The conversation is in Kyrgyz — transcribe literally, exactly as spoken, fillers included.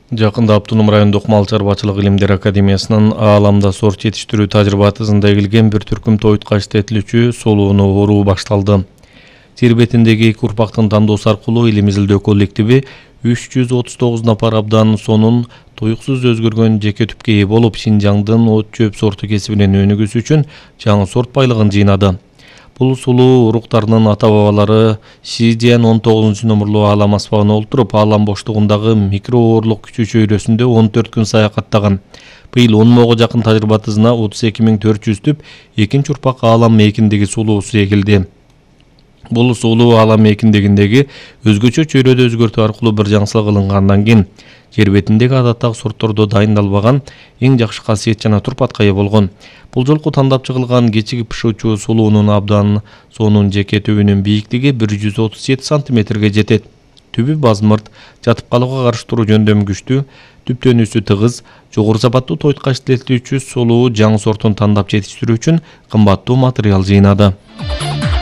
Жакында Автоном райондук мал чарбачылык илимдер академиясынын ааламда сорт жетиштирүү тажрыйбатысында эгилген бир түркүм тоюткач этилүүчү солууну оруу башталды. Жер бетиндеги эки урпактын тандоосу аркылуу элимиздин коллективи үч жүз отуз тогуз напар абдан сонун туюксуз өзгөргөн жеке түпкө ээ болуп, Шинжаңдын от чөп сорту кесибинен өнүгүүсү үчүн жаңы сорт байлыгын жыйнады. Бул сулуу уруктарынын ата-бабалары Шижиан он тогузунчу номерлуу аалам аспабына олтуруп, аалам боштугундагы микрооорлук күчү чөйрөсүндө он төрт күн саякаттаган. Быйыл он мыңга жакын тажрыйбатысына отуз эки миң төрт жүз түп экинчи урпак аалам мейкиндеги сулуусу эгилди. Бул сулуу аалам мейкиндегиндеги өзгөчө чөйрөдө өзгөртүү аркылуу бир жаңсылык алынгандан кийин жер бетиндеги адаттагы сорттордо дайындалбаган эң жакшы касиет жана турпатка ээ болгон. Бул жолку тандап чыгылган кечиги пышуучу сулуунун абдан сонун жеке түбүнүн бийиктиги бир жүз отуз жети сантиметрге жетет. Түбү базмырт, жатып калууга каршы туруу жөндөмү күчтүү, түптөнүүсү тыгыз, жогору сапаттуу тоюткач этилүүчү сулуу жаңы сортун тандап жетиштирүү үчүн кымбаттуу материал жыйнады.